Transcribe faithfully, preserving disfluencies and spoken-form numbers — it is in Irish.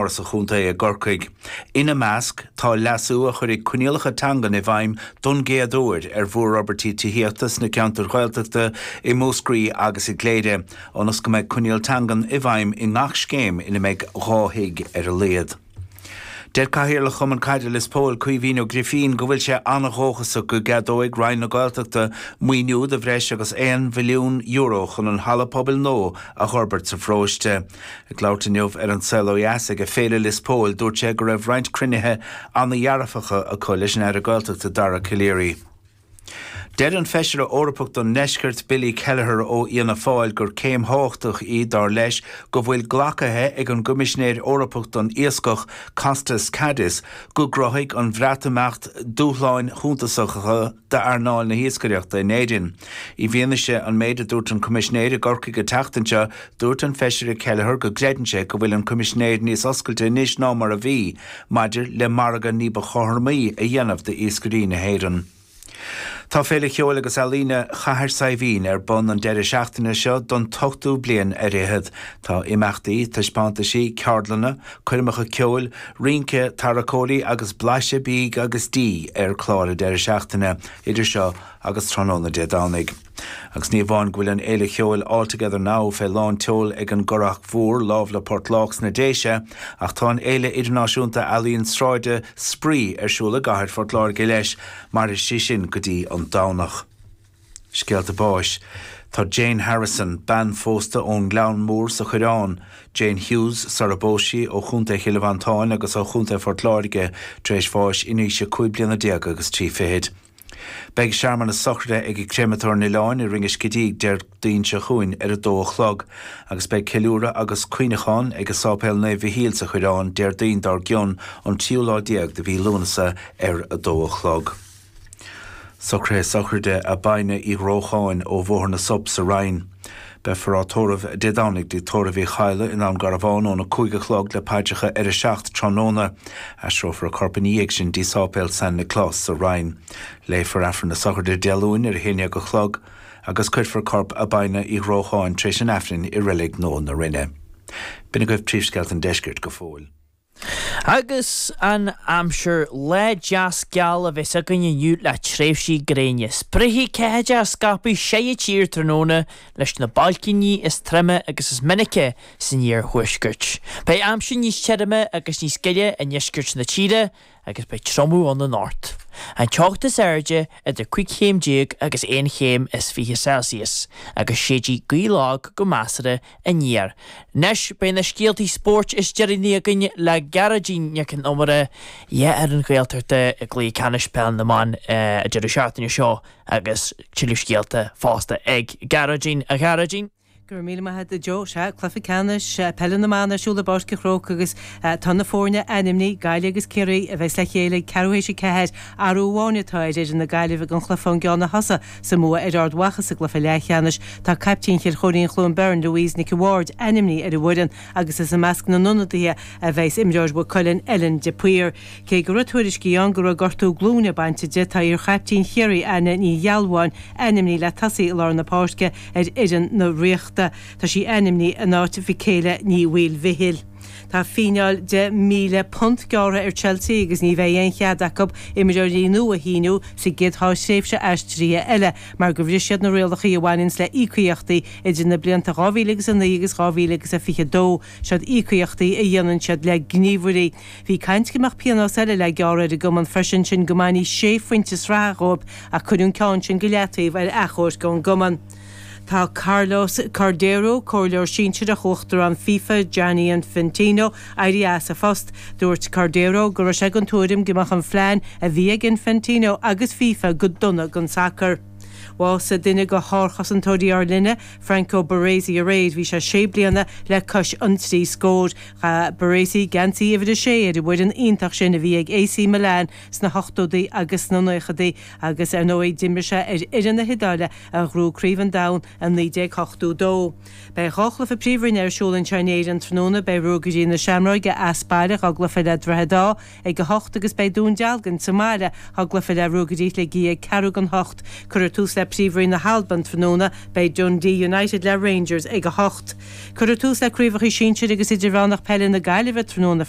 Áras an Chontae i gCorcaigh. Ina measc tá leasú a chuirfidh coinníollacha teangan i bhfeidhm don gcéad uair ar mhórfhorbairtí tithíochta sna ceantair Ghaeltachta i Múscraí agus i gCléire, ionas go mbeidh coinníoll teangan i bhfeidhm i ngach scéim ina mbeidh dhá thigh ar a laghad. Deir Cathaoirleach Chumann Caide Lios Póil Caoimhín Ó Grifín go bhfuil sé an-dhóchasach go gceadóidh Roinn na Gaeltachta maoiniú de bhreis agus aon mhilliún euro chun an halla pobail nua a fhorbairt sa pharóiste. Ag labhairt inniu ar An Saol Ó Dheas ag Féile Lios Póil dúirt sé go raibh roinnt cruinnithe an-dhearfacha acu leis an Aire Gaeltachta Dara Calleary. Deir an Feisire Eorpach don nDeisceart Billy Kelleher ó Fhianna Fáil gur céim thábhachtach í dar leis go bhfuil glactha ag an gCoimisinéir Eorpach don Iascach Costas Kadis go gcruthaíonn an Bhreatimeacht dúshláin shuntasacha d'earnáil na hiascaireachta in Éirinn. I bhfianaise an méid a dúirt an Coimisinéir i gCorcaigh an tseachtain seo, dúirt an Feisire Kelleher go gcreideann sé go bhfuil an Coimisinéir níos oscailte anois ná mar a bhí, maidir le margadh ní ba chothromaí a dhéanamh d'iascairí na hÉireann. Tá Féile Cheoil agus Ealaíne Chathair Saidhbhín ar bun an deireadh seachtaine seo don ochtú bliain ar fhichead. Tá imeachtaí, taispeántaisí, ceardlanna, coirmeacha ceoil, rince, tarracóirí agus blaiseadh bídh agus dí ar chlár an deireadh seachtaine idir seo agus tráthnóna Dé Domhnaigh. Agus ní amháin go bhfuil an Fhéile Cheoil All Together Now fé lán tseoil ag an gCurrach Mhór lámh le Port Lách sna Déise, ach tá an Fhéile Idirnáisiúnta Ealaíon Sráide Spraoi ar siúl i gcathair Phort Láirge leis, mairfidh sí sin go dtí an Domhnach. Scéalta báis. Tá Jane Harrison, bean phósta ón nGleann Mór sa Choireán, Jane Hughes sara bpós sí ó Chontae Chill Mhantáin agus ó Chontae Phort Láirge tar éis bháis in aois a cúig bliana déag agus trí fichid. Beidh searmanas sochraide ag Créamatóir an Oileáin i Rinn an Scidígh Déardaoin seo chugainn ar a dó a chlog, agus beidh ceiliúradh agus cuimhneachán ag Sáipéal Naomh Mhichíl sa Choireán Déardaoin dár gcionn an tríú lá déag de mhí Lúnasa ar a dó a chlog. Socruithe sochraide Abina Uí Ghrócháin ó Bhóthar na Sop sa Rinn. Beifear á tórramh Dé Domhnaigh dtigh tórraimh Uí Chadhla i nDún Garbhán óna cúig a chlog le paidreacha ar a seacht tráthnóna. Aistreofar a corp ina dhiaidh sin dtí Sáipéal San Nioclás sa Rinn. Léifear Aifreann na sochraide Dé Luain ar a haon déag a chlog agus cuirfear corp Abina Uí Ghrócháin tar éis an Aifrinn i Reilig Nua na Rinne. B'in agaibh príomhscéalta an deiscirt go fóill. Agus an aimsir lá deas geal a bheas againn inniu le tréimhsí gréine. Spréifidh ceathaideacha scaipthe sa tír tráthnóna leis na bailcíní is troime agus is minice san iarthuaisceart. Beidh aimsir níos tirime agus níos gile i ndeisceart na tíre agus beidh triomú ann anocht. An teocht is airde idir cúig chéim déag agus aon chéim is fiche Celsius, agus séidfidh gaoth lag go measartha aniar. Anois beidh na scéaltaí spóirt is deireanaí againn le Gearóidín Nic an Iomaire dhe ar an Ghaeltacht i gcluiche ceannais peil na mban an deireadh seachtaine seo agus tuilleadh scéalta fosta ag Gearóidín a Ghearóidín. Go raibh míle maith agat a Joe. Sea, cluiche ceannais peile na mban ar siúl i bPáirc an Chrócaigh agus tá na foirne ainmnithe, Gaillimh agus Ciarraí, a bheas le chéile ag ceathrú théis a ceathair. Athrú amháin atá ar fhoireann na Gaillimhe don chluiche ón gceann a thosaigh sa mbua ar Ard Mhacha sa gcluiche leathcheannais. Tá caiptín Chill Chóirín-Chluain Bheirn, Louise Nic a' Bhaird, ainmnithe ar an bhfoireann agus is i measc na n-ionadaithe a bheas imreoir Mhaigh Cuilinn, Ellen de Paor. Cé go raibh tuairiscí ann go raibh gortú glúine bainte di, tá iar-chaiptín Chiarraí, Aine Ní Ghealbháin, ainmnithe le tosaí i lár na páirce ar fhoireann na Ríochta. Tá sí ainmnithe in áit Mhichaela Ní Mhaoilmhichíl. Tá fíneáil de míle punt gearrtha ar Chelsea agus ní bheidh aon chead acu imreoirí nua a shíniú sa gcéad dhá thréimhse aistrithe eile mar gur bhris siad na rialacha a bhaineanns le íocaíochtaí idir na blianta dhá mhíle agus a naoi agus dhá mhíle agus a fiche dó. Seod íocaíochtaí a dhéanann siad le gníomhairí. Bhí caint go mbeadh pionós eile le gearradh ar an gcumann freisin, sin go mbainfí sé phointe sraithe dhóibh ach cuireadh an ceann sin go leataobh ar achomharc ón gcumann. Tá Carlos Cordeiro, comhairleoir sinsearach Uachtarán FIFA Gianni Infantino, éirithe as a phost. Dúirt Cordeiro go raibh sé den tuairim go mbeadh an phlean a bhí ag Infantino agus FIFA go dona don sacar. Bhásaigh duine de shárchosantóirí ár linne, Franco Baresi aréir. Bhí sé sé bliana le cois an trí scór. Chaith Baresi geansaí uimhir a sé ar an bhfoireann iontach sin a bhí ag AC Milan sna hochtóidí agus sna naochadaí agus ar ndóigh d'imir sé ar fhoireann na hIodáile a ghnóthaigh Craobh an Domhain i naoi déag ochtó dó. Beidh dhá chluiche Príomhroinne ar siúl anseo in Éirinn tráthnóna. Beidh Ruagairí na Seamróige as baile dhá gcluiche le Droichead Átha ag a hocht agus beidh Dún Dealgan sa mbaile dhá gcluiche le Ruagairí Shligigh ag ceathrú don hocht. Cuirfear tús le Príomhroinn na hAlban tráthnóna beidh Dundee United le Rangers ag a hocht. Cuirfear tús le craobhacha sinsir agus idirmheánach peile na Gaillimhe tráthnóna